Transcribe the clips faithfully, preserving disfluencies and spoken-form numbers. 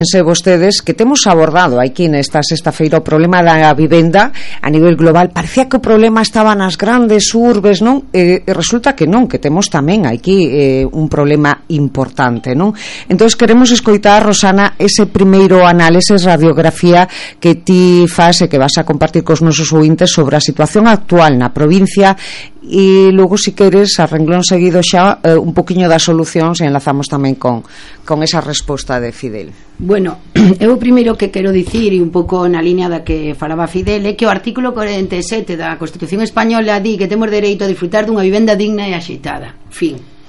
Pense vostedes que temos abordado aquí nesta sexta feira o problema da vivenda a nivel global. Parecía que o problema estaba nas grandes urbes, non? E, e resulta que non, que temos tamén aquí eh, un problema importante, non? Entón queremos escoitar, Rosana, ese primeiro análise, radiografía que ti faz e que vas a compartir cos nosos ouvintes sobre a situación actual na provincia e logo, se queres, a renglón seguido xa eh, un poquinho das solucións e enlazamos tamén con, con esa resposta de Fidel. Bueno, eu primeiro que quero dicir, e un pouco na línea da que falaba Fidel, é que o artículo cuarenta e sete da Constitución Española di que temos dereito a disfrutar dunha vivenda digna e axeitada. Fin.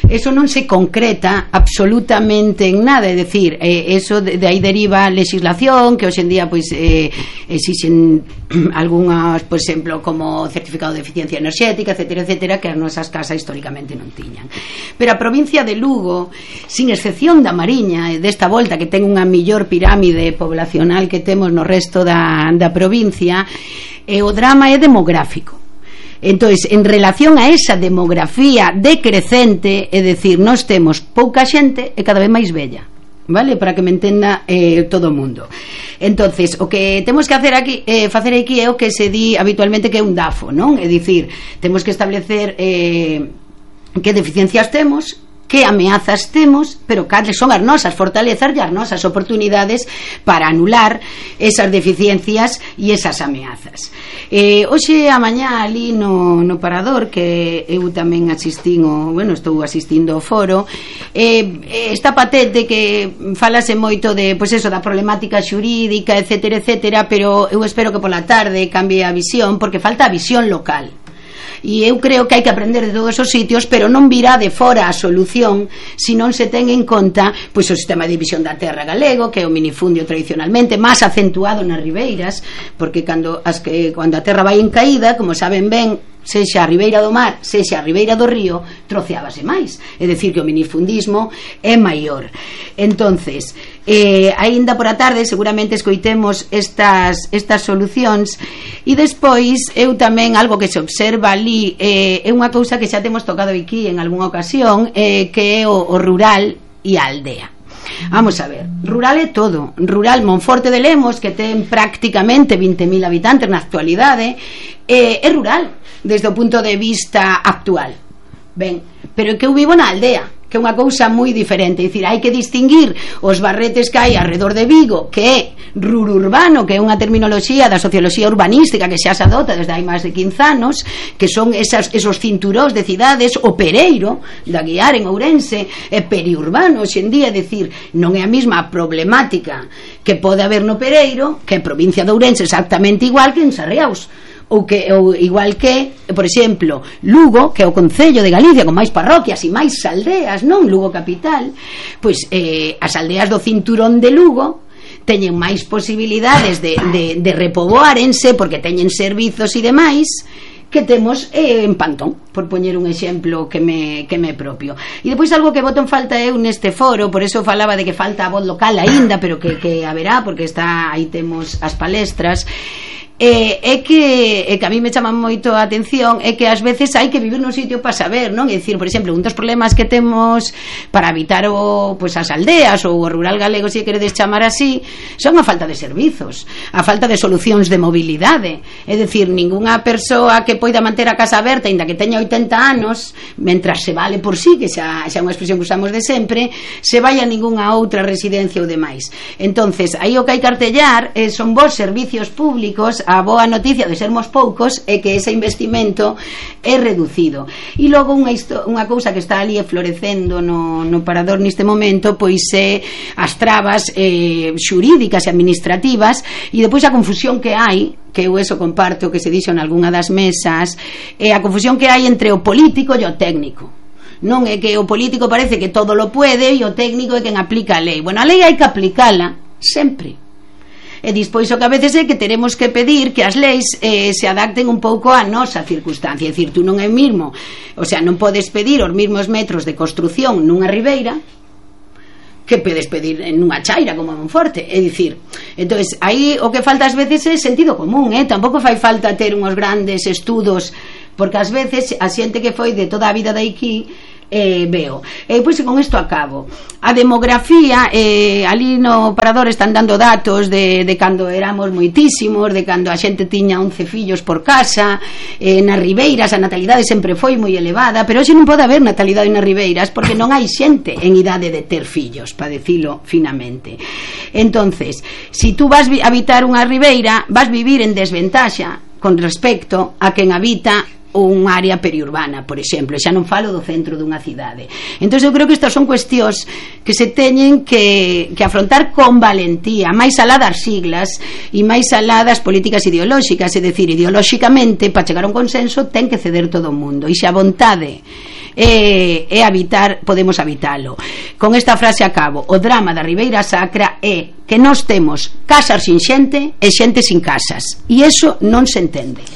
Eso non se concreta absolutamente en nada, é dicir, eh, eso de, de aí deriva a legislación que hoxe en día pois eh, exixen algunhas, por exemplo, como certificado de eficiencia enerxética, etcétera, etcétera, que as nosas casas históricamente non tiñan. Pero a provincia de Lugo, sin excepción da Mariña e desta volta que ten unha millor pirámide poblacional que temos no resto da, da provincia, e o drama é demográfico. Entonces, en relación a esa demografía decrecente, é dicir, nós temos pouca xente e cada vez máis bella, vale? Para que me entenda eh, todo o mundo. Entonces, o que temos que hacer aquí, eh, facer aquí é o que se di habitualmente que é un DAFO, non? É dicir, temos que establecer eh, que deficiencias temos, que ameazas temos, pero cales son as nosas fortalezas e as nosas oportunidades para anular esas deficiencias e esas ameazas. Eh, hoxe a mañá ali no, no Parador, que eu tamén asistín o, bueno, estou asistindo ao foro, eh, está patente que falase moito de, pois eso, da problemática xurídica, etcétera, etcétera, pero eu espero que pola tarde cambie a visión, porque falta a visión local. E eu creo que hai que aprender de todos os sitios, pero non virá de fora a solución se non se ten en conta pois o sistema de división da terra galego, que é o minifundio tradicionalmente máis acentuado nas ribeiras, porque cando, as que, cando a terra vai en caída, como saben ben, sexa a ribeira do mar, sexa a ribeira do río, troceábase máis, é dicir que o minifundismo é maior. Entonces, eh, aínda por a tarde seguramente escoitemos estas, estas solucións, e despois eu tamén, algo que se observa ali, eh, é unha cousa que xa temos tocado aquí en algunha ocasión, eh, que é o, o rural e a aldea. Vamos a ver, rural é todo. Rural, Monforte de Lemos, que ten prácticamente vinte mil habitantes na actualidade, eh, é rural desde o punto de vista actual. Ben, pero é que eu vivo na aldea, que é unha cousa moi diferente. É dicir, hai que distinguir os barretes que hai alrededor de Vigo, que é rururbano, que é unha terminoloxía da socioloxía urbanística que xa se adopta desde hai máis de quince anos, que son esas, esos cinturóns de cidades, o Pereiro da Guiar en Ourense, e periurbano hoxe en día. É dicir, non é a mesma problemática que pode haber no Pereiro que en provincia de Ourense, exactamente igual que en Sarriaus, ou que ou igual que, por exemplo, Lugo, que é o concello de Galicia con máis parroquias e máis aldeas, non Lugo capital, pois eh, as aldeas do cinturón de Lugo teñen máis posibilidades de, de, de repoboárense porque teñen servizos e demais que temos eh, en Pantón, por poñer un exemplo que me, que me propio. E depois algo que boto en falta eu neste foro, por eso falaba de que falta a voz local aínda, pero que, que haberá, porque está aí temos as palestras. Eh, é que é que a mí me chama moito a atención é que ás veces hai que vivir nun sitio para saber, non? É dicir, por exemplo, un dos problemas que temos para habitar o, pues, as aldeas ou o rural galego, se queredes chamar así, son a falta de servizos, a falta de solucións de mobilidade. É dicir, ningunha persoa que poida manter a casa aberta ainda que teña oitenta anos, mentras se vale por sí, que xa, xa é unha expresión que usamos de sempre, se vai a ningunha outra residencia ou demais. Entonces, aí o que hai que artellar eh, son vos servicios públicos. A boa noticia de sermos poucos é que ese investimento é reducido. E logo unha, unha cousa que está ali florecendo no, no Parador neste momento, pois é as trabas eh, xurídicas e administrativas, e depois a confusión que hai, que eu eso comparto que se dixo en algunha das mesas, é a confusión que hai entre o político e o técnico. Non é que o político parece que todo lo puede e o técnico é quen aplica a lei. Bueno, a lei hai que aplicala sempre. E dispois o que a veces é que teremos que pedir que as leis eh, se adapten un pouco á nosa circunstancia. É dicir, tú non é mismo, o sea, non podes pedir os mesmos metros de construción nunha ribeira que podes pedir en unha chaira como a Monforte. É dicir, entonces aí o que falta ás veces é sentido común, eh? Tampouco fai falta ter unhos grandes estudos, porque ás veces a xente que foi de toda a vida de aquí eh, veo. E pois con isto acabo. A demografía, eh, ali no Parador están dando datos de, de cando éramos moitísimos, de cando a xente tiña once fillos por casa, eh, nas ribeiras a natalidade sempre foi moi elevada, pero hoxe non pode haber natalidade nas ribeiras porque non hai xente en idade de ter fillos, para decilo finamente. Entonces, si tú vas a habitar unha ribeira, vas vivir en desventaxa con respecto a quen habita un área periurbana, por exemplo, xa non falo do centro dunha cidade. Entón eu creo que estas son cuestións que se teñen que, que afrontar con valentía, máis alá das siglas e máis alá das políticas ideolóxicas, é dicir, ideolóxicamente para chegar a un consenso ten que ceder todo o mundo, e se a vontade é, é habitar, podemos habitalo. Con esta frase acabo. O drama da Ribeira Sacra é que nós temos casas sin xente e xente sin casas, e iso non se entende.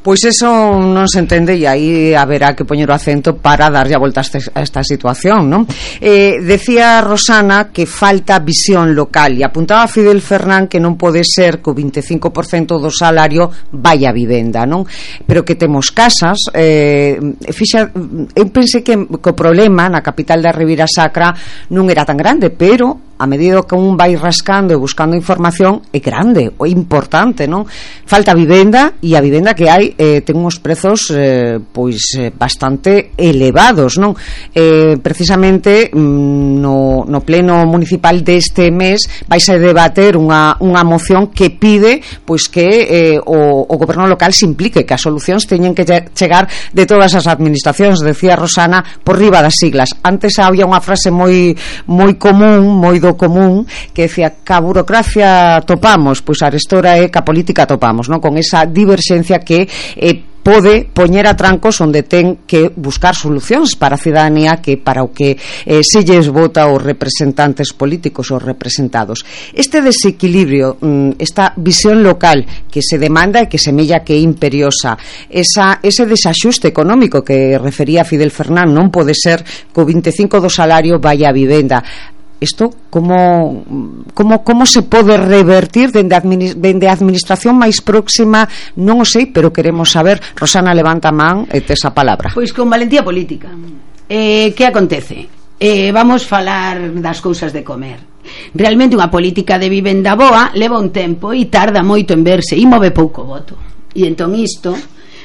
Pois eso non se entende, e aí haberá que poñer o acento para darlle a volta a, este, a esta situación, non? Eh, decía Rosana que falta visión local, e apuntaba Fidel Fernán que non pode ser que o veinticinco por cento do salario vai a vivenda, non? Pero que temos casas, eh, fixa, eu pensei que, que o problema na capital da Ribeira Sacra non era tan grande, pero a medida que un vai rascando e buscando información é grande, é importante, non? Falta vivenda, e a vivenda que hai eh, ten uns prezos eh, pois eh, bastante elevados, non? Eh, precisamente no, no pleno municipal deste mes vais a debater unha, unha moción que pide pois que eh, o, o goberno local se implique, que as solucións teñen que chegar de todas as administracións, decía Rosana, por riba das siglas. Antes había unha frase moi moi común, moi do común, que decía que a burocracia topamos, pois arestora é que a política topamos, non? Con esa diverxencia que eh, pode poñer a trancos onde ten que buscar solucións para a cidadanía, que para o que eh, se lles vota os representantes políticos, os representados. Este desequilibrio, esta visión local que se demanda e que semella que é imperiosa, esa, ese desaxuste económico que refería Fidel Fernán, non pode ser que o veinticinco por cento do salario vaya a vivenda. Isto como, como, como se pode revertir dende a administ administración máis próxima, non o sei, pero queremos saber. Rosana, levanta a man e tes a palabra. Pois con valentía política. Eh, que acontece? Eh, vamos falar das cousas de comer. Realmente unha política de vivenda boa leva un tempo e tarda moito en verse e move pouco voto. E entón isto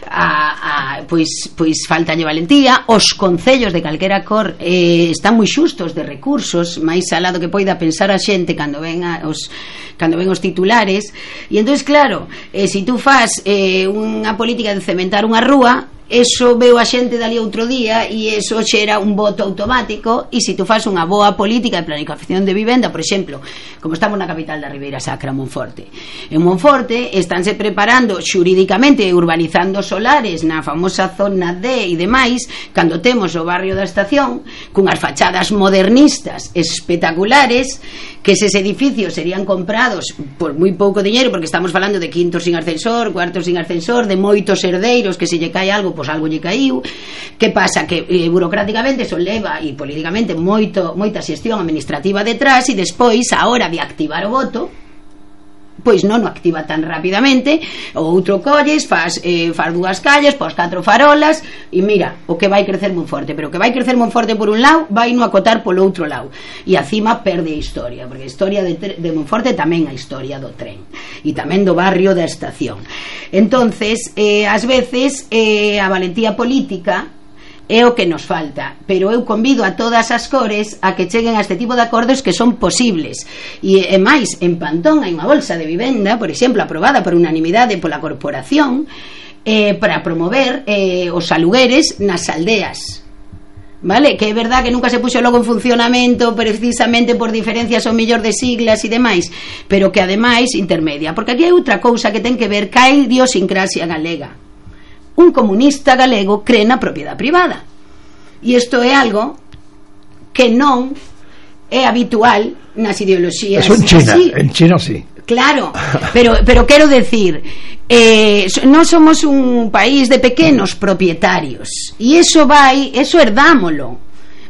A, a, pois, pois faltalle valentía. Os concellos de calquera cor eh, están moi xustos de recursos, máis alado que poida pensar a xente cando ven a, os, cando ven os titulares. E entón, claro, eh, se si tú fas eh, unha política de cementar unha rúa, eso veo a xente dali outro día e eso xera un voto automático. E se tú fas unha boa política de planificación de vivenda, por exemplo, como estamos na capital da Ribeira Sacra, Monforte, en Monforte estánse preparando xurídicamente urbanizando solares na famosa zona D e demais, cando temos o barrio da Estación cunhas fachadas modernistas espectaculares, que eses edificios serían comprados por moi pouco diñeiro, porque estamos falando de quintos sin ascensor, cuartos sin ascensor, de moitos herdeiros que se lle cae algo, pois algo lle caiu. Que pasa? Que eh, burocráticamente eso leva, e políticamente moito, moita xestión administrativa detrás, e despois, a hora de activar o voto, pois non o activa tan rapidamente. O outro colles, faz, eh, faz dúas calles, pos catro farolas, e mira, o que vai crecer moi forte, pero o que vai crecer moi forte por un lado vai no acotar polo outro lado, e acima perde a historia, porque a historia de, de Monforte tamén a historia do tren e tamén do barrio da Estación. Entonces, eh, ás veces eh, a valentía política é o que nos falta, pero eu convido a todas as cores a que cheguen a este tipo de acordos que son posibles. E, e máis, en Pantón hai unha bolsa de vivenda, por exemplo, aprobada por unanimidade pola corporación, eh, para promover eh, os alugueres nas aldeas, vale? Que é verdad que nunca se puxo logo en funcionamento precisamente por diferencias ou mellor de siglas e demais, pero que ademais intermedia, porque aquí hai outra cousa que ten que ver ca idiosincrasia galega. Un comunista galego cree na propiedade privada, e isto é algo que non é habitual nas ideoloxías. Eso en China, así. En China sí. Claro, pero, pero quero decir, eh, non somos un país de pequenos propietarios, e iso vai, eso herdámolo.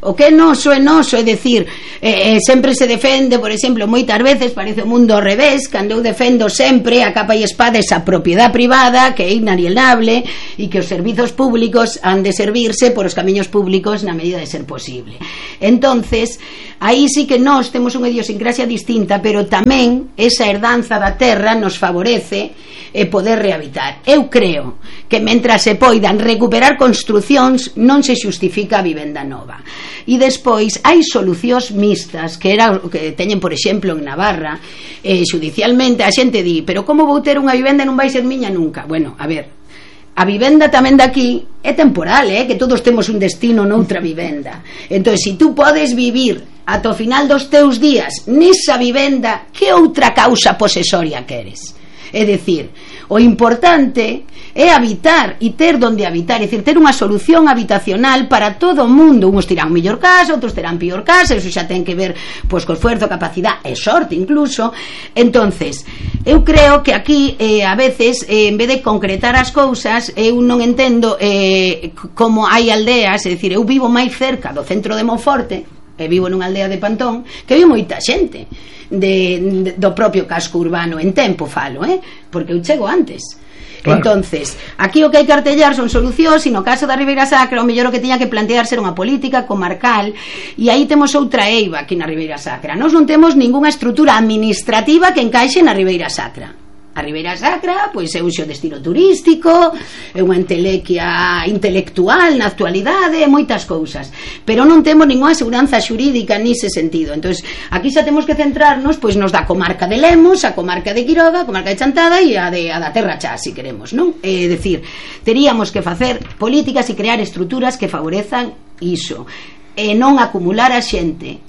O que é noso é noso, é dicir, eh, eh, sempre se defende, por exemplo, moitas veces parece o mundo ao revés, cando eu defendo sempre a capa e espada esa propiedade privada que é inalienable e que os servizos públicos han de servirse por os camiños públicos na medida de ser posible. Entonces, aí sí que nós temos unha idiosincrasia distinta, pero tamén esa herdanza da terra nos favorece eh, poder rehabitar. Eu creo que mentras se poidan recuperar construcións non se xustifica a vivenda nova. E despois hai solucións mixtas, que era o que teñen, por exemplo, en Navarra, eh, judicialmente a xente di, pero como vou ter unha vivenda e non vai ser miña nunca? Bueno, a ver, a vivenda tamén daqui é temporal, eh? Que todos temos un destino noutra vivenda. Entón, se si tú podes vivir ata o final dos teus días nesa vivenda, que outra causa posesoria queres? É dicir, o importante é habitar e ter donde habitar, é dicir, ter unha solución habitacional para todo o mundo. Uns terán mellor casa, outros terán pior casa, eso xa ten que ver pois co esfuerzo, capacidade e sorte incluso. Entonces, eu creo que aquí eh, a veces, eh, en vez de concretar as cousas, eu non entendo eh, como hai aldeas, é dicir, eu vivo máis cerca do centro de Monforte, e vivo nunha aldea de Pantón, que vive moita xente de, de, do propio casco urbano, en tempo falo, eh? Porque eu chego antes. Claro. Entonces, aquí o que hai que artellar son solucións, e no caso da Ribeira Sacra o mellor o que tiña que plantear ser unha política comarcal, e aí temos outra eiva aquí na Ribeira Sacra. Nós non temos ningunha estrutura administrativa que encaixe na Ribeira Sacra. A Ribeira Sacra, pois é un xo de estilo turístico, é unha entelequia intelectual na actualidade, moitas cousas, pero non temos ninguna seguranza xurídica nese sentido. Entón, aquí xa temos que centrarnos pois nos da comarca de Lemos, a comarca de Quiroga, a comarca de Chantada e a, de, a da Terra Chá, se queremos, non? É dicir, teríamos que facer políticas e crear estruturas que favorezan iso, e non acumular a xente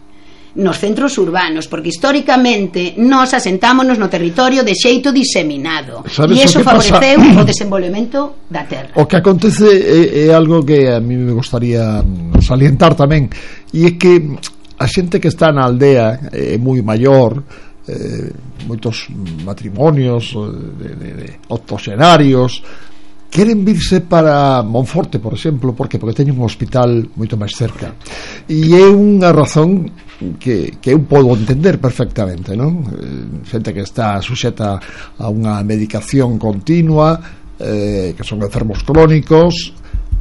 nos centros urbanos, porque históricamente nós asentámonos no territorio de xeito diseminado, e iso favoreceu pasa? O desenvolvemento da terra. O que acontece é, é algo que a mí me gustaría salientar tamén, e é que a xente que está na aldea é moi maior, eh, moitos matrimonios de, de, de octogenarios queren virse para Monforte, por exemplo, porque porque teñen un hospital moito máis cerca, e é unha razón que, que eu podo entender perfectamente, non? Eh, xente que está suxeta a unha medicación continua, eh, que son enfermos crónicos,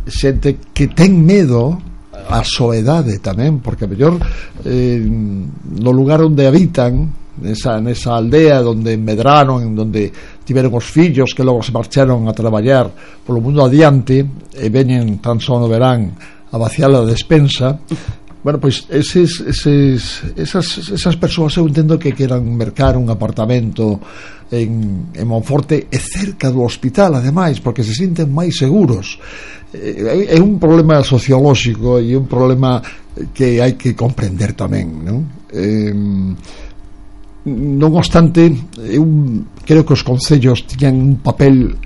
xente que ten medo a soedade tamén, porque a mellor eh, no lugar onde habitan, nesa, nesa aldea onde medraron, onde tiveron os fillos que logo se marcharon a traballar polo mundo adiante e veñen tan só no verán a vaciar a despensa. Bueno, pois eses, eses, esas, esas persoas eu entendo que queran mercar un apartamento en, en Monforte e cerca do hospital, ademais, porque se sinten máis seguros. É, é un problema sociolóxico e un problema que hai que comprender tamén, non? Eh, non obstante, eu creo que os concellos tiñan un papel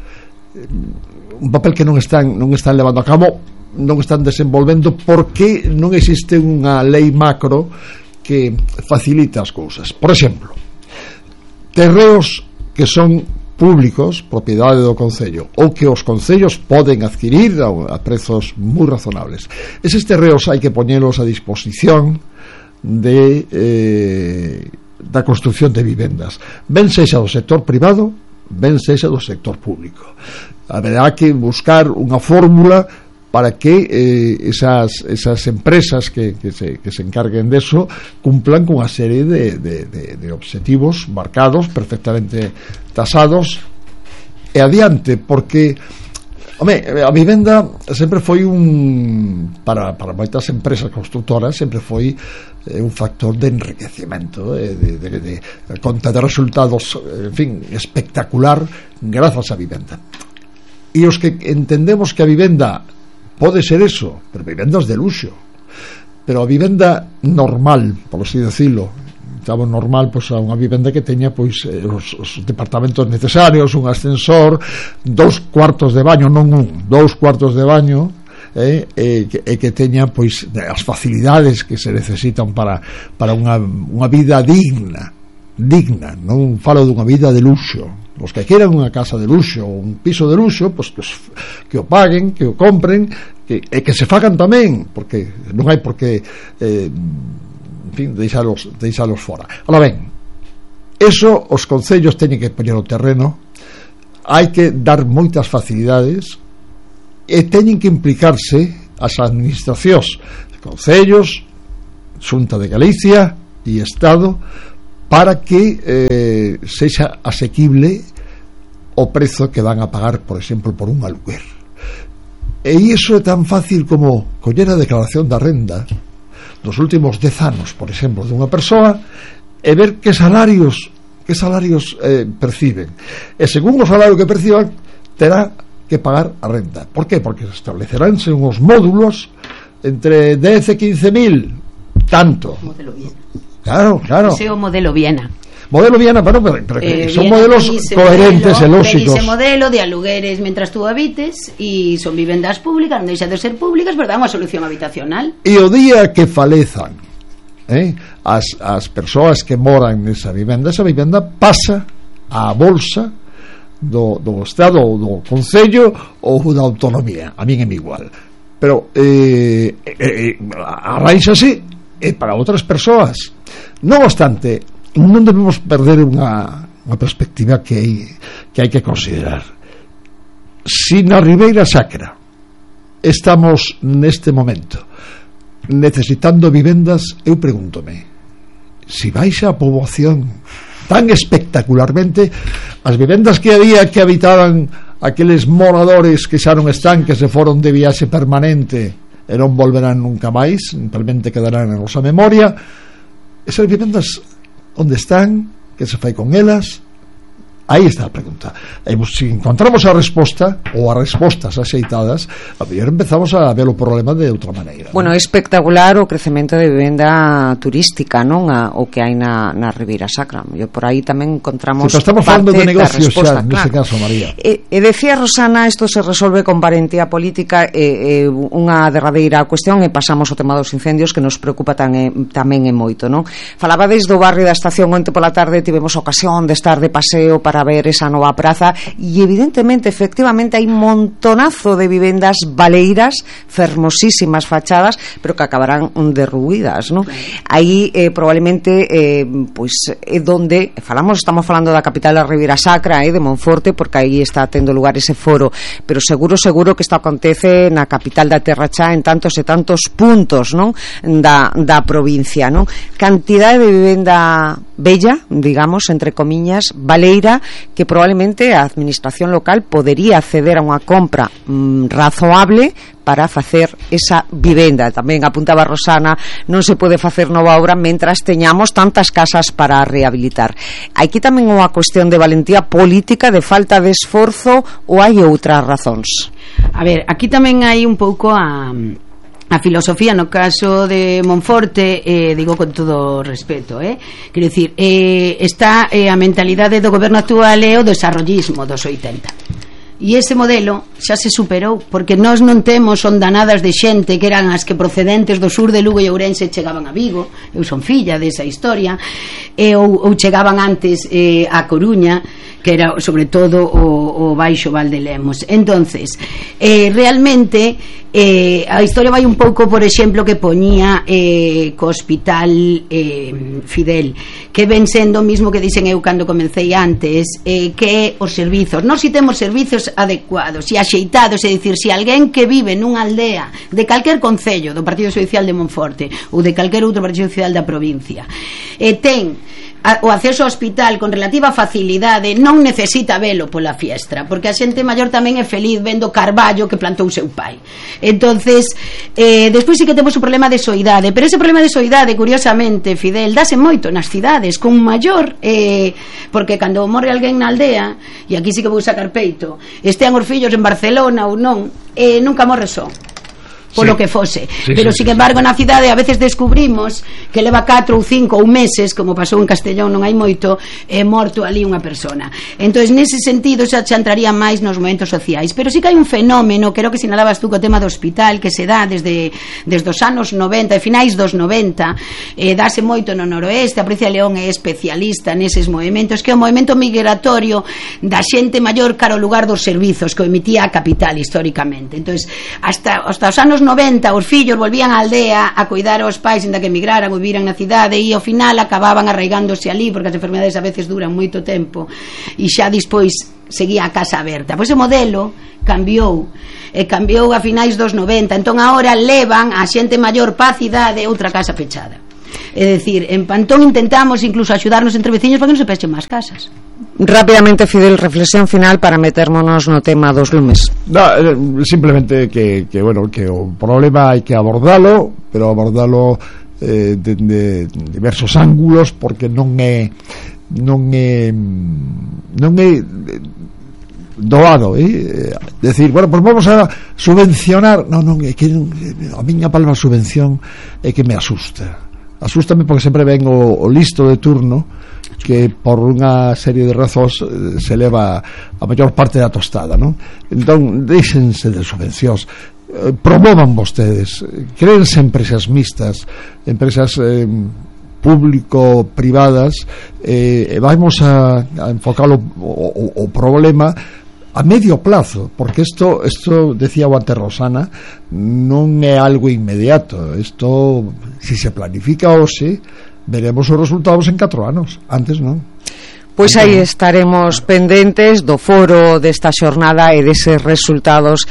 un papel que non están non están levando a cabo, non están desenvolvendo, porque non existe unha lei macro que facilita as cousas. Por exemplo, terreos que son públicos, propiedade do concello, ou que os concellos poden adquirir a prezos moi razonables. Eses terreos hai que poñelos a disposición de eh, da construcción de vivendas, ben sexa do sector privado, ben sexa do sector público. Haberá que buscar unha fórmula para que eh, esas, esas empresas que, que, se, que se encarguen de eso cumplan con unha serie de, de, de, de objetivos marcados, perfectamente tasados e adiante, porque home, a vivenda sempre foi un para, para moitas empresas constructoras sempre foi eh, un factor de enriquecimento, eh, de, de, de, de conta de resultados, en fin, espectacular grazas á vivenda. E os que entendemos que a vivenda pode ser eso, pero vivendas de luxo, pero a vivenda normal, por así decirlo, estamos normal, pois, a unha vivenda que teña pois os, os departamentos necesarios, un ascensor, dous cuartos de baño, non un, dous cuartos de baño, eh, e, que, e que teña pois as facilidades que se necesitan para, para unha, unha vida digna, digna, non falo dunha vida de luxo. Os que queran unha casa de luxo ou un piso de luxo, pois que, os, que o paguen, que o compren, que, e que se fagan tamén, porque non hai por que eh, en fin, deixalos, deixalos fora. Ahora ben, eso os concellos teñen que poñer o terreno, hai que dar moitas facilidades e teñen que implicarse as administracións, concellos, Xunta de Galicia e Estado, para que eh, sexa asequible o prezo que van a pagar, por exemplo, por un aluguer. E iso é tan fácil como coller a declaración da renda dos últimos dez anos, por exemplo, dunha persoa, e ver que salarios que salarios eh, perciben, e según o salario que perciban terá que pagar a renda. Por que? Porque estableceránse uns módulos entre dez e quince mil, tanto. Modelo Viena. Claro, claro. Ese é o modelo Viena. Modelo Viena, pero, pero, pero eh, son Viena modelos coherentes e lógicos. Ese modelo de alugueres mentras tú habites, e son vivendas públicas, non deixan de ser públicas, pero dan unha solución habitacional. E o día que falezan eh, as, as persoas que moran nesa vivenda, esa vivenda pasa á bolsa do, do Estado ou do Concello ou da Autonomía. A min é igual, pero eh, eh, arraixase e para outras persoas. Non obstante, non debemos perder unha, unha perspectiva que hai, que hai que considerar. Si na Ribeira Sacra estamos neste momento necesitando vivendas, eu pregúntome, si baixa a poboación tan espectacularmente, as vivendas que había que habitaban aqueles moradores que xa non están, que se foron de viaxe permanente e non volverán nunca máis, simplemente quedarán na nosa memoria, esas vivendas onde están, que se fai con elas? Aí está a pregunta. E se encontramos a resposta ou as respostas axeitadas, a mellor empezamos a ver o problema de outra maneira. Bueno, é espectacular o crecemento de vivenda turística, non? A, o que hai na, na Ribeira Sacra. E por aí tamén encontramos sí, estamos parte de negocios da resposta, xa, neste caso, María. E, e decía Rosana, isto se resolve con valentía política, e, e unha derradeira cuestión, e pasamos ao tema dos incendios, que nos preocupa tan, e, tamén e moito, non? Falabades do barrio da Estación, onte pola tarde tivemos ocasión de estar de paseo para ver esa nova praza, e evidentemente, efectivamente, hai un montonazo de vivendas baleiras, fermosísimas fachadas, pero que acabarán derruídas, non? Aí eh, probablemente eh, pois é donde falamos, estamos falando da capital da Ribeira Sacra, eh, de Monforte, porque aí está tendo lugar ese foro, pero seguro, seguro que isto acontece na capital da Terra Cha, en tantos e tantos puntos, non? Da, da provincia, non? Cantidade de vivenda bella, digamos, entre comiñas, baleira, que probablemente a administración local podería acceder a unha compra mm, razoable para facer esa vivenda. Tamén apuntaba Rosana, non se pode facer nova obra mentras teñamos tantas casas para rehabilitar. Aquí tamén unha cuestión de valentía política, de falta de esforzo, ou hai outras razóns? A ver, aquí tamén hai un pouco a... a filosofía no caso de Monforte, eh, digo con todo respeto, eh? Quero dicir, eh, está eh, a mentalidade do goberno actual é o desarrollismo dos oitenta. E ese modelo xa se superou, porque nós non temos ondanadas de xente que eran as que procedentes do sur de Lugo e Ourense chegaban a Vigo. Eu son filla desa historia, e, ou, ou chegaban antes eh, a Coruña, que era sobre todo o, o Baixo Val de Lemos. Entonces, eh, realmente eh, a historia vai un pouco, por exemplo, que poñía eh, co hospital eh, Fidel, que ven sendo o mismo que dicen eu cando comecei antes, eh, que os servizos, nós si temos servizos adecuados e axeitados, é dicir, se alguén que vive nunha aldea de calquer concello do Partido Social de Monforte ou de calquer outro Partido Social da provincia e ten a, o acceso ao hospital con relativa facilidade, non necesita velo pola fiestra, porque a xente maior tamén é feliz vendo carballo que plantou seu pai. Entonces eh, despois sí que temos o problema de soidade, pero ese problema de soidade, curiosamente, Fidel, dase moito nas cidades con maior eh, porque cando morre alguén na aldea, e aquí sí que vou sacar peito, estean os fillos en Barcelona ou non, eh, nunca morre só. polo sí. que fose, sí, pero sí, sin sí, embargo sí. na cidade a veces descubrimos que leva catro ou cinco ou meses, como pasou en Castellón non hai moito, é morto ali unha persona. Entonces nese sentido xa, xa entraría máis nos momentos sociais, pero sí que hai un fenómeno, creo que sinalabas tú co tema do hospital, que se dá desde, desde os anos noventa e finais dos noventa, eh, dase moito no noroeste. A Provincia de León é especialista neses movimentos, que é o movimento migratorio da xente maior cara ao lugar dos servizos que o emitía a capital históricamente. Entonces hasta, hasta os anos noventa os fillos volvían á aldea a cuidar aos pais inda que emigraran ou viviran na cidade, e ao final acababan arraigándose ali porque as enfermedades a veces duran moito tempo e xa despois seguía a casa aberta. Pois o modelo cambiou e cambiou a finais dos noventa, entón agora levan a xente maior pa cidade outra casa pechada. É dicir, en Pantón intentamos incluso axudarnos entre veciños para que non se pechen máis casas. Rápidamente, Fidel, reflexión final para metermonos no tema dos lumes. No, simplemente que, que bueno, que o problema hai que abordalo, pero abordalo eh, de, de diversos ángulos, porque non é non é non é doado, eh? Decir, bueno, pues vamos a subvencionar. Non, non, é que a miña palabra subvención é que me asusta. Asústame porque sempre ven o, o listo de turno que por unha serie de razóns se leva a maior parte da tostada, non? Entón, deixense de subvencións, eh, promovan vostedes, créense empresas mixtas, empresas eh, público-privadas, e eh, vamos a, a enfocar o, o, o problema a medio plazo, porque isto, isto decía o antes Rosana, non é algo inmediato. Isto, si se planifica hoxe, veremos os resultados en catro anos, antes non. Pois aí estaremos pendentes do foro desta xornada e deses resultados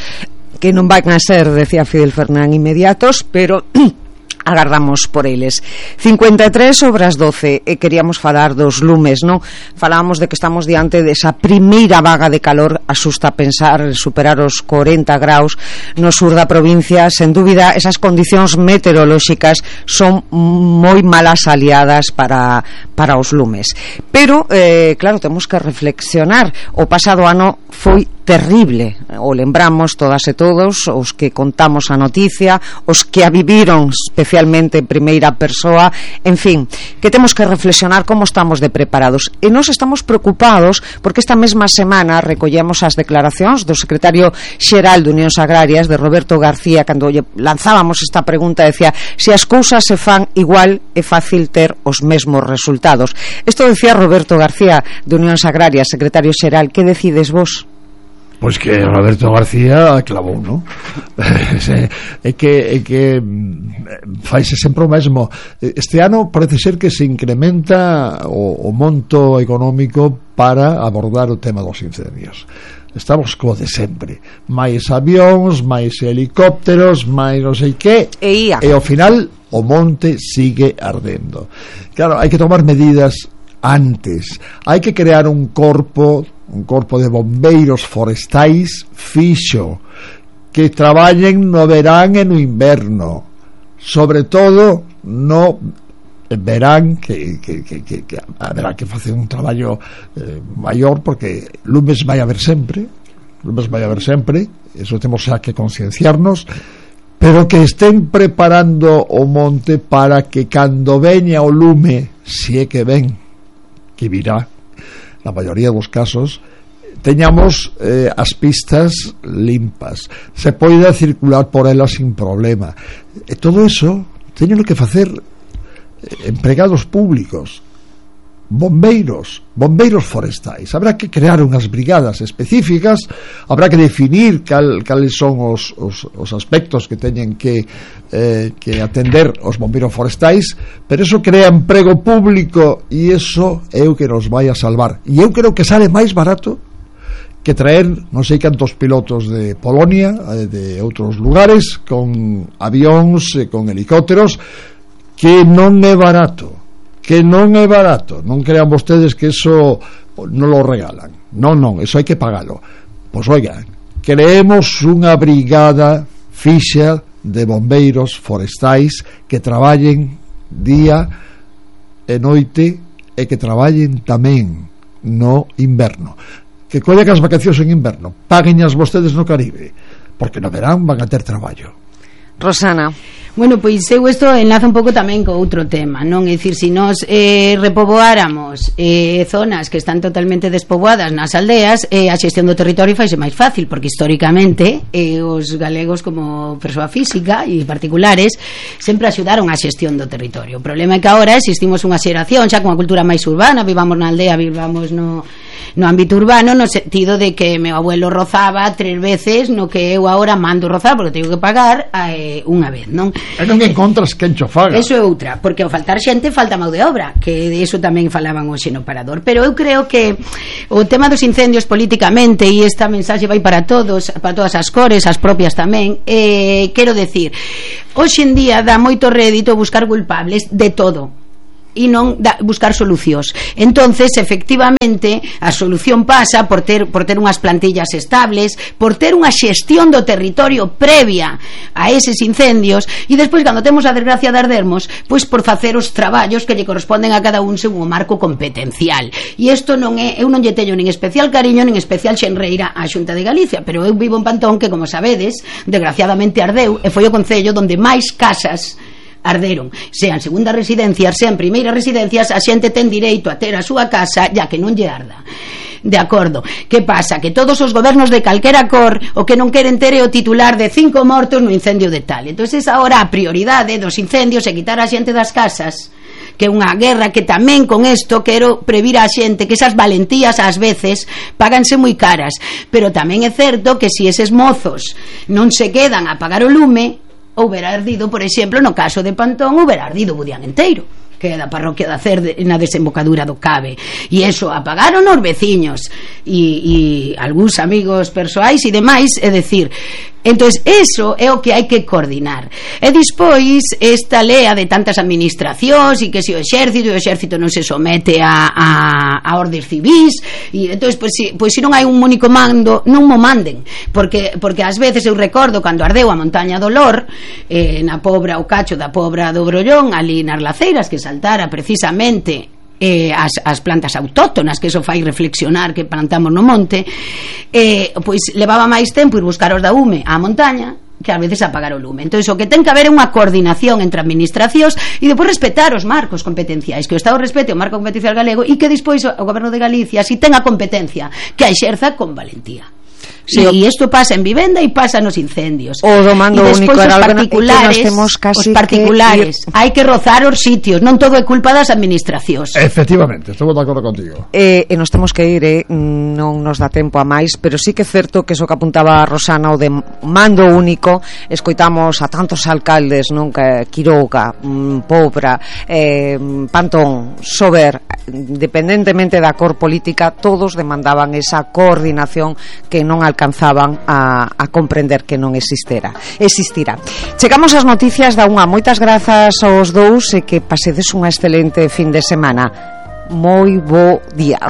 que non van a ser, decía Fidel Fernán, inmediatos, pero agardamos por eles. cincuenta e tres sobre as doce, e queríamos falar dos lumes, non? Falábamos de que estamos diante desa primeira vaga de calor. Asusta pensar superar os corenta graus no sur da provincia. Sen dúbida, esas condicións meteorolóxicas son moi malas aliadas para, para os lumes. Pero, eh, claro, temos que reflexionar. O pasado ano foi terrible, o lembramos todas e todos, os que contamos a noticia, os que a viviron especialmente en primeira persoa, en fin, que temos que reflexionar como estamos de preparados. E nós estamos preocupados porque esta mesma semana recollemos as declaracións do secretario xeral de Unións Agrarias, de Roberto García, cando lanzábamos esta pregunta, decía: se as cousas se fan igual é fácil ter os mesmos resultados. Isto decía Roberto García de Unións Agrarias, secretario xeral. Que decides vos? Pois que Roberto García clavou, non? é que, é que faise sempre o mesmo. Este ano parece ser que se incrementa o, o monto económico para abordar o tema dos incendios. Estamos co de sempre, máis avións, máis helicópteros, máis non sei que, e, e ao final o monte sigue ardendo. Claro, hai que tomar medidas antes, hai que crear un corpo un corpo de bombeiros forestais fixo, que traballen no verán e no inverno, sobre todo no verán, que, que, que, que, que haberá que facer un traballo eh, maior, porque lumes vai haber sempre, lumes vai haber sempre, eso temos xa que concienciarnos, pero que estén preparando o monte para que cando veña o lume, si é que ven, que virá na maioría dos casos, teñamos eh, as pistas limpas, se poida circular por elas sin problema. E todo eso teñen que facer eh, empregados públicos, bombeiros, bombeiros forestais. Habrá que crear unhas brigadas específicas, habrá que definir cal, cales son os, os, os aspectos que teñen que, eh, que atender os bombeiros forestais, pero eso crea emprego público e eso é o que nos vai a salvar. E eu creo que sale máis barato que traer non sei cantos pilotos de Polonia, de outros lugares, con avións e con helicópteros, que non é barato, que non é barato. Non crean vostedes que eso non lo regalan. Non, non, eso hai que pagalo. Pois oigan, creemos unha brigada fixa de bombeiros forestais que traballen día e noite e que traballen tamén no inverno. Que collan as vacacións en inverno, paguen as vostedes no Caribe, porque no verán van a ter traballo. Rosana. Bueno, pois eu isto enlaza un pouco tamén co outro tema, non? É dicir, se nós eh, repoboáramos eh, zonas que están totalmente despoboadas nas aldeas, eh, a xestión do territorio faise máis fácil, porque históricamente eh, os galegos como persoa física e particulares sempre axudaron a xestión do territorio. O problema é que agora existimos unha xeración xa con a cultura máis urbana, vivamos na aldea, vivamos no no ámbito urbano, no sentido de que meu abuelo rozaba tres veces no que eu agora mando rozar porque teño que pagar eh, unha vez, non? E non encontras quen cho faga. Eso é outra, porque ao faltar xente falta mão de obra, que de eso tamén falaban hoxe no Parador. Pero eu creo que o tema dos incendios políticamente, e esta mensaxe vai para todos, para todas as cores, as propias tamén, eh, quero decir, hoxe en día dá moito rédito buscar culpables de todo e non da, buscar solucións. Entonces, efectivamente, a solución pasa por ter, por ter unhas plantillas estables, por ter unha xestión do territorio previa a eses incendios, e despois, cando temos a desgracia de ardermos, pois por facer os traballos que lle corresponden a cada un según o marco competencial. E isto non é, eu non lle teño nin especial cariño nin especial xenreira á Xunta de Galicia, pero eu vivo en Pantón, que, como sabedes, desgraciadamente ardeu, e foi o concello onde máis casas arderon, sean segundas residencias, sean primeiras residencias, a xente ten direito a ter a súa casa, ya que non lle arda. De acordo. Que pasa? Que todos os gobernos de calquera cor o que non queren ter é o titular de cinco mortos no incendio de tal. Entonces, agora a prioridade dos incendios é quitar a xente das casas, que é unha guerra que tamén con isto quero previr a xente que esas valentías ás veces páganse moi caras, pero tamén é certo que se eses mozos non se quedan a pagar o lume, houbera ardido, por exemplo, no caso de Pantón, houbera ardido Budián enteiro, que é da parroquia da Cer na desembocadura do Cabe, e eso apagaron os veciños e, e algúns amigos persoais e demais, é decir, entonces eso é o que hai que coordinar. E despois esta lea de tantas administracións e que se o exército, o exército non se somete a, a, a ordes civis, e entonces pois, si, pois se non hai un único mando, non mo manden, porque, porque ás veces eu recordo cando ardeu a montaña do Lor, eh, na Pobra, o cacho da Pobra do Brollón, ali nas Laceiras, que saltara precisamente Eh, as, as plantas autóctonas, que eso fai reflexionar que plantamos no monte, eh, pois levaba máis tempo ir buscar os da U M E á montaña que ás veces apagar o lume. Entón, o que ten que haber é unha coordinación entre administracións e depois respetar os marcos competenciais, que o Estado respete o marco competencial galego e que despois o Goberno de Galicia, si ten a competencia, que a exerza con valentía. Sí, e isto pasa en vivenda e pasa nos incendios. O do mando único era os particulares, que nos os particulares que... hai que rozar os sitios, non todo é culpa das administracións. Efectivamente, estou de acordo contigo. Eh, e nos temos que ir, eh, non nos dá tempo a máis, pero sí que é certo que eso que apuntaba a Rosana, o de mando único, escoitamos a tantos alcaldes, non, que Quiroga, mm, Pobra, eh, Pantón, Sober, independentemente da cor política, todos demandaban esa coordinación que non alcanzaban a, a comprender que non existera existira. Chegamos ás noticias da unha. Moitas grazas aos dous e que pasedes unha excelente fin de semana. Moi bo día.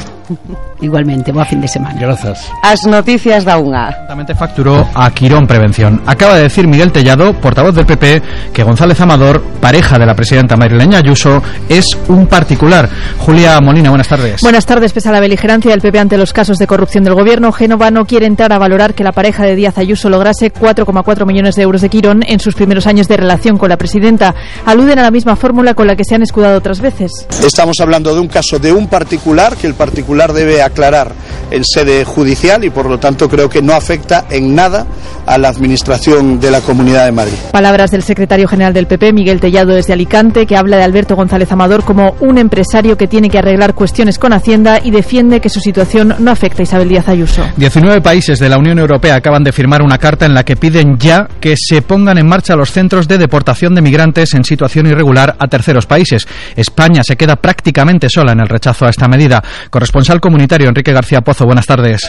Igualmente, boa fin de semana. Grazas. As noticias da unha. Exactamente, facturó a Quirón Prevención. Acaba de decir Miguel Tellado, portavoz del P P, que González Amador, pareja de la presidenta madrileña Ayuso, es un particular. Julia Molina, buenas tardes. Buenas tardes. Pese a la beligerancia del P P ante los casos de corrupción del gobierno, Génova no quiere entrar a valorar que la pareja de Díaz Ayuso lograse cuatro coma cuatro millones de euros de Quirón en sus primeros años de relación con la presidenta. Aluden a la misma fórmula con la que se han escudado otras veces. Estamos hablando de un caso de un particular que el particular debe aclarar en sede judicial y por lo tanto creo que no afecta en nada a la administración de la Comunidad de Madrid. Palabras del secretario general del P P, Miguel Tellado, desde Alicante, que habla de Alberto González Amador como un empresario que tiene que arreglar cuestiones con Hacienda y defiende que su situación no afecta a Isabel Díaz Ayuso. diecinueve países de la Unión Europea acaban de firmar una carta en la que piden ya que se pongan en marcha los centros de deportación de migrantes en situación irregular a terceros países. España se queda prácticamente sola en el rechazo a esta medida. Corresponsal comunitario Enrique García Pozo, buenas tardes.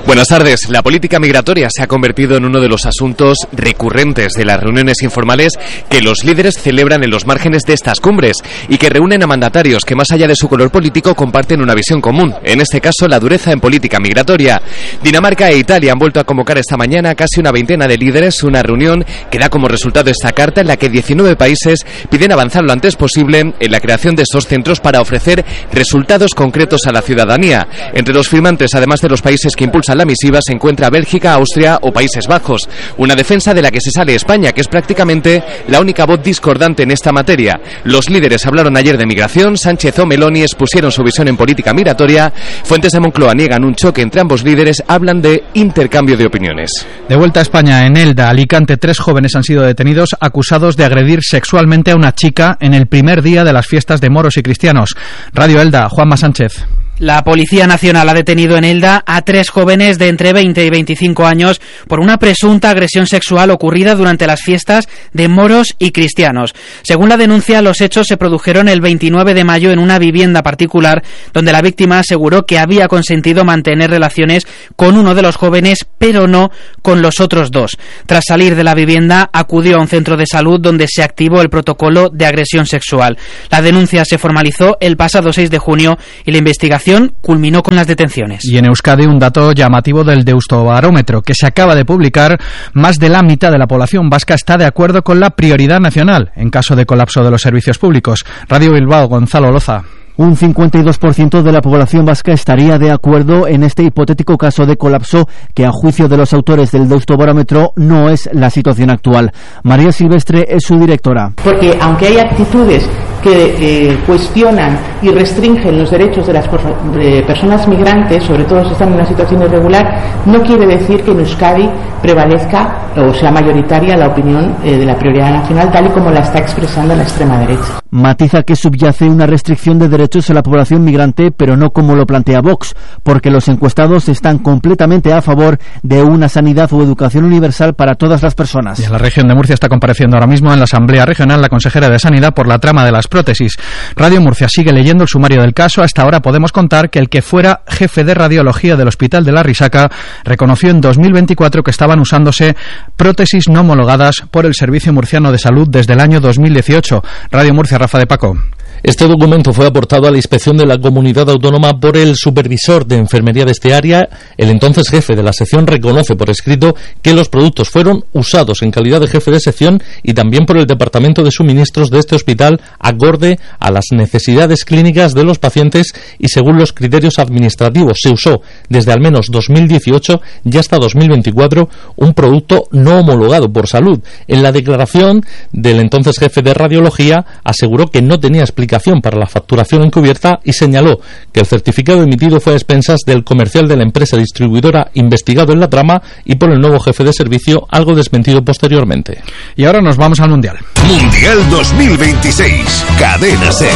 Buenas tardes. La política migratoria se ha convertido en uno de los asuntos recurrentes de las reuniones informales que los líderes celebran en los márgenes de estas cumbres y que reúnen a mandatarios que más allá de su color político comparten una visión común, en este caso la dureza en política migratoria. Dinamarca e Italia han vuelto a convocar esta mañana a casi una veintena de líderes, una reunión que da como resultado esta carta en la que diecinueve países piden avanzar lo antes posible en la creación de estos centros para ofrecer resultados concretos a la ciudadanía. Entre los firmantes, además de los países que impulsan la misiva, se encuentra Bélgica, Austria o Países Bajos. hijos. Una defensa de la que se sale España, que es prácticamente la única voz discordante en esta materia. Los líderes hablaron ayer de migración, Sánchez o Meloni expusieron su visión en política migratoria. Fuentes de Moncloa niegan un choque entre ambos líderes, hablan de intercambio de opiniones. De vuelta a España, en Elda, Alicante, tres jóvenes han sido detenidos acusados de agredir sexualmente a una chica en el primer día de las fiestas de moros y cristianos. Radio Elda, Juanma Sánchez. La Policía Nacional ha detenido en Elda a tres jóvenes de entre veinte y veinticinco años por una presunta agresión sexual ocurrida durante las fiestas de moros y cristianos. Según la denuncia, los hechos se produjeron el veintinueve de mayo en una vivienda particular donde la víctima aseguró que había consentido mantener relaciones con uno de los jóvenes, pero no con los otros dos. Tras salir de la vivienda, acudió a un centro de salud donde se activó el protocolo de agresión sexual. La denuncia se formalizó el pasado seis de junio y la investigación culminó con las detenciones. Y en Euskadi, un dato llamativo del Deustobarómetro que se acaba de publicar: más de la mitad de la población vasca está de acuerdo con la prioridad nacional en caso de colapso de los servicios públicos. Radio Bilbao, Gonzalo Loza. Un cincuenta y dos por ciento de la población vasca estaría de acuerdo en este hipotético caso de colapso que, a juicio de los autores del Deustobarómetro, no es la situación actual. María Silvestre es su directora. Porque aunque hay actitudes que eh, cuestionan y restringen los derechos de las de personas migrantes, sobre todo si están en una situación irregular, no quiere decir que en Euskadi prevalezca o sea mayoritaria la opinión eh, de la prioridad nacional, tal y como la está expresando la extrema derecha. Matiza que subyace una restricción de derechos a la población migrante, pero no como lo plantea Vox, porque los encuestados están completamente a favor de una sanidad o educación universal para todas las personas. Y en la región de Murcia está compareciendo ahora mismo en la Asamblea Regional la consejera de Sanidad por la trama de las prótesis. Radio Murcia sigue leyendo el sumario del caso. Hasta ahora podemos contar que el que fuera jefe de radiología del Hospital de la Risaca reconoció en dos mil veinticuatro que estaban usándose prótesis no homologadas por el Servicio Murciano de Salud desde el año dos mil dieciocho. Radio Murcia, Rafa de Paco. Este documento fue aportado a la inspección de la comunidad autónoma por el supervisor de enfermería de este área. El entonces jefe de la sección reconoce por escrito que los productos fueron usados en calidad de jefe de sección y también por el departamento de suministros de este hospital acorde a las necesidades clínicas de los pacientes y según los criterios administrativos. Se usó desde al menos dos mil dieciocho y hasta dos mil veinticuatro un producto no homologado por salud. En la declaración del entonces jefe de radiología aseguró que no tenía explicación para la facturación encubierta y señaló que el certificado emitido fue a expensas del comercial de la empresa distribuidora investigado en la trama y por el nuevo jefe de servicio, algo desmentido posteriormente. Y ahora nos vamos al Mundial. Mundial dos mil veintiséis, Cadena SER.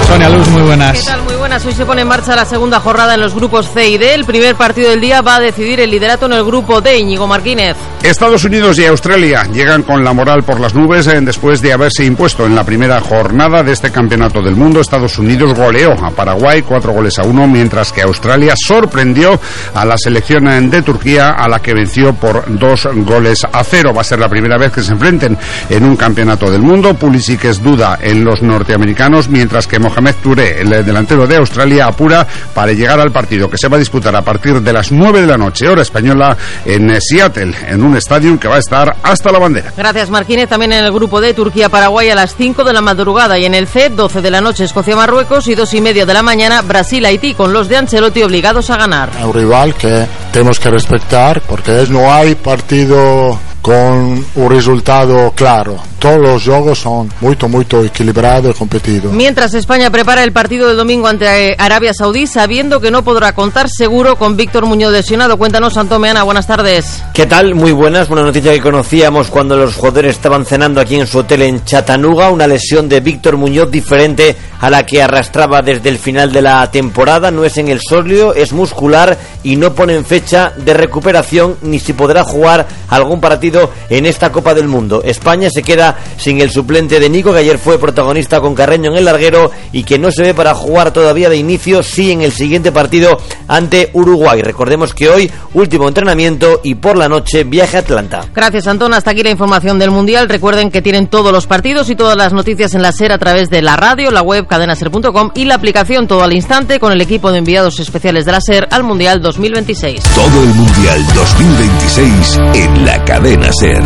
Sonia Luz, muy buenas. ¿Qué tal? Muy buenas. Hoy se pone en marcha la segunda jornada en los grupos C y D. El primer partido del día va a decidir el liderato en el grupo D. Íñigo Martínez. Estados Unidos y Australia llegan con la moral por las nubes eh, después de haberse impuesto en la primera jornada de este campeonato del mundo. Estados Unidos goleó a Paraguay cuatro goles a uno, mientras que Australia sorprendió a la selección de Turquía, a la que venció por dos goles a cero. Va a ser la primera vez que se enfrenten en un campeonato del mundo. Pulisic es duda en los norteamericanos, mientras que Mohamed Touré, el delantero de Australia, apura para llegar al partido que se va a disputar a partir de las nueve de la noche, hora española, en Seattle, en un estadio que va a estar hasta la bandera. Gracias, Martínez. También en el grupo D, Turquía-Paraguay a las cinco de la madrugada, y en el C, doce de la noche, Escocia-Marruecos, y dos y media de la mañana, Brasil-Haití, con los de Ancelotti obligados a ganar. Un rival que tenemos que respetar, porque no hay partido con un resultado claro. Todos los juegos son muy, muy equilibrados y competidos. Mientras España prepara el partido del domingo ante Arabia Saudí, sabiendo que no podrá contar seguro con Víctor Muñoz lesionado. Cuéntanos, Antón Meana, buenas tardes. ¿Qué tal? Muy buenas. Una noticia que conocíamos cuando los jugadores estaban cenando aquí en su hotel en Chattanooga. Una lesión de Víctor Muñoz diferente a la que arrastraba desde el final de la temporada. No es en el sóleo, es muscular y no ponen fecha de recuperación ni si podrá jugar algún partido en esta Copa del Mundo. España se queda sin el suplente de Nico, que ayer fue protagonista con Carreño en el larguero y que no se ve para jugar todavía de inicio, sí en el siguiente partido ante Uruguay. Recordemos que hoy último entrenamiento y por la noche viaje a Atlanta. Gracias, Antón. Hasta aquí la información del Mundial. Recuerden que tienen todos los partidos y todas las noticias en la SER a través de la radio, la web cadena ser punto com y la aplicación Todo al Instante, con el equipo de enviados especiales de la SER al Mundial dos mil veintiséis. Todo el Mundial dos mil veintiséis en la cadena SER.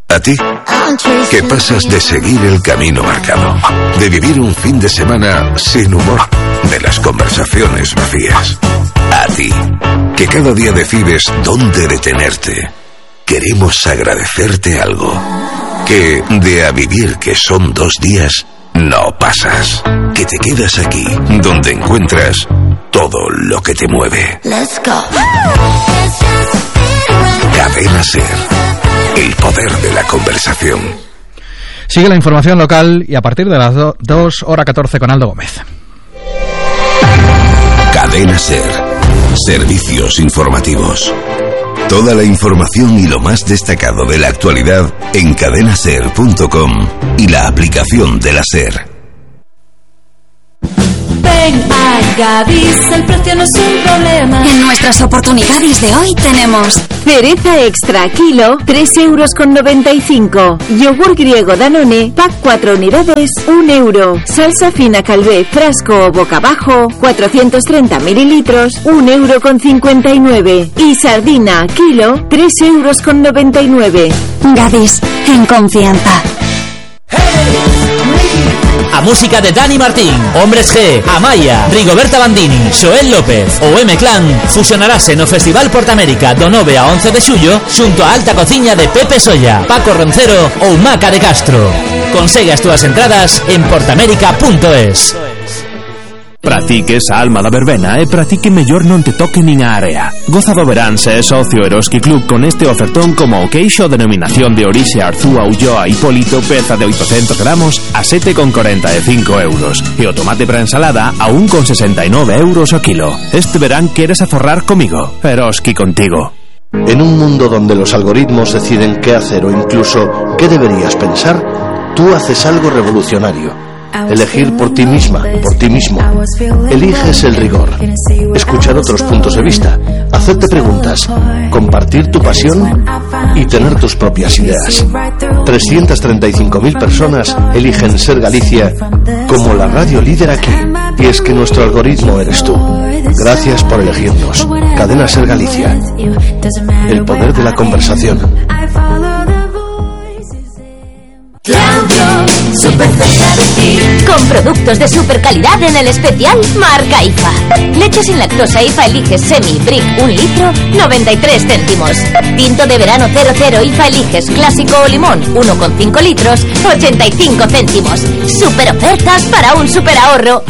A ti, que pasas de seguir el camino marcado, de vivir un fin de semana sin humor, de las conversaciones vacías. A ti, que cada día decides dónde detenerte, queremos agradecerte algo. Que de a vivir que son dos días, no pasas. Que te quedas aquí, donde encuentras todo lo que te mueve. Let's go. Cadena SER, el poder de la conversación. Sigue la información local y a partir de las dos horas catorce con Aldo Gómez. Cadena SER, servicios informativos. Toda la información y lo más destacado de la actualidad en cadena ser punto com y la aplicación de la SER. Ven a Gadis, el precio no es un problema. En nuestras oportunidades de hoy tenemos cereza extra kilo, tres euros con noventa y cinco. Yogur griego Danone, pack cuatro unidades, un euro. Salsa fina Calvé, frasco o boca abajo, cuatrocientos treinta mililitros, un euro con cincuenta y nueve. Y sardina kilo, tres euros con noventa y nueve. Gadis, en confianza. A música de Dani Martín, Hombres G, Amaya, Rigoberta Bandini, Xoel López ou M-Clan fusionarase no Festival Portamérica do nove a once de xullo xunto a alta cociña de Pepe Solla, Paco Roncero ou Maca de Castro. Consegue as túas entradas en portamérica punto es. Para ti que esa alma da verbena e para ti que mellor non te toque nin a area. Goza do verán se é socio Eroski Club con este ofertón como o queixo denominación de orixe Arzúa Ulloa Hipólito peza de oitocentos gramos a sete con corenta e cinco euros e o tomate para ensalada a un con sesenta y nueve euros o kilo. Este verán queres aforrar comigo. Eroski contigo. En un mundo donde los algoritmos deciden qué hacer o incluso qué deberías pensar, tú haces algo revolucionario. Elegir por ti misma, por ti mismo. Eliges el rigor. Escuchar otros puntos de vista. Hacerte preguntas. Compartir tu pasión y tener tus propias ideas. trescientas treinta y cinco mil personas eligen Ser Galicia como la radio líder aquí. Y es que nuestro algoritmo eres tú. Gracias por elegirnos. Cadena Ser Galicia. El poder de la conversación. Claudio, super cerca de ti. Con productos de super calidad en el especial marca I F A. Leche sin lactosa I F A Eliges Semi Brick un litro, noventa y tres céntimos. Tinto de verano cero cero I F A Eliges Clásico o Limón uno con cinco litros, ochenta y cinco céntimos. Super ofertas para un super ahorro.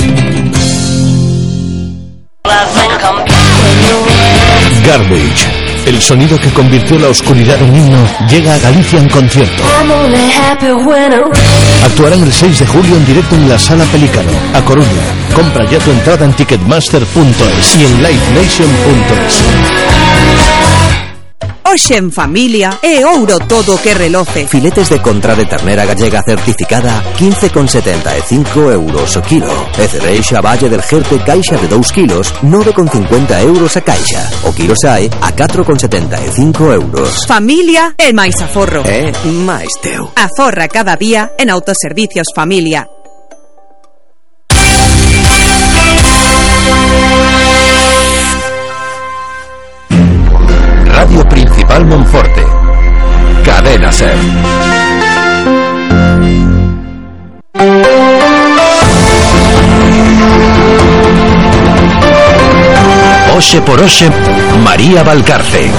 Garbage, el sonido que convirtió la oscuridad en himno, llega a Galicia en concierto. Actuarán el seis de julio en directo en la Sala Pelícano, a Coruña. Compra ya tu entrada en ticketmaster punto es y en live nation punto es. Hoxe en familia é ouro todo que reloce. Filetes de contra de ternera gallega certificada quince con setenta e cinco euros o kilo. E cereixa Valle del Jerte caixa de dous kilos nove con cincuenta euros a caixa. O kilo sae a catro con setenta e cinco euros. Familia é máis aforro. É máis teu. Aforra cada día en Autoservicios Familia. Radio Principal Monforte. Cadena SER. Oxe por Oxe, María Valcarce.